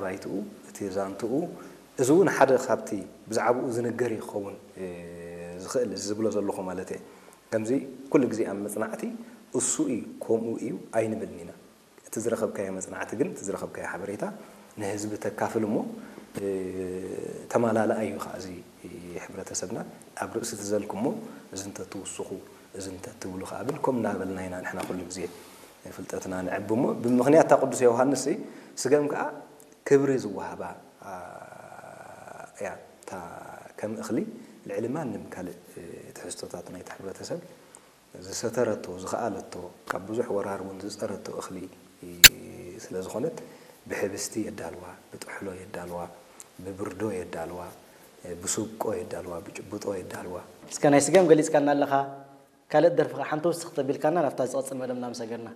ባይትኡ፣ እቲ ዛንትኡ፣ እዚ እውን ሓደ ካብቲ ብዛዕባኡ ዝንገር ይኸውን ዝኽእል ዝብሎ ዘለኹ ማለት እየ። ከምዚ ኩሉ ግዜ ኣብ መጽናዕቲ እሱ እዩ ከምኡ እዩ ኣይንብልን ኢና። እቲ ዝረኸብካዮ መጽናዕቲ ግን እቲ ዝረኸብካዮ ሓበሬታ ንህዝቢ ተካፍል እሞ ተማላልኣ እዩ ከዓ እዚ ሕብረተሰብና ኣብ ርእሲ ትዘልኩሞ እዚ እንተትውስኹ እዚ እንተትብሉ ከዓ ብል ከም እናበልና ኢና ንሕና ኩሉ ግዜ ፍልጠትና ንዕቢ እሞ ብምኽንያት እታ ቅዱስ ዮሃንስ ስገም ከዓ ክብሪ ዝወሃባ እያ እታ ከም እኽሊ ልዕሊ ማንም ካልእ ትሕዝቶታት ናይቲ ሕብረተሰብ ዝሰተረቶ ዝኸኣለቶ ካብ ብዙሕ ወራር እውን ዝፀረቶ እኽሊ ስለ ዝኾነት ብሕብስቲ የዳልዋ፣ ብጥሕሎ የዳልዋ፣ ብብርዶ የዳልዋ፣ ብስብቆ የዳልዋ፣ ብጭብጦ የዳልዋ። እስከ ናይ ስገም ገሊፅካና ኣለኻ፣ ካልእ ደርፊ ከዓ ሓንቲ ውስኽ ተቢልካና ናብታ ዝቐፅል መደብ እናመሰገንና።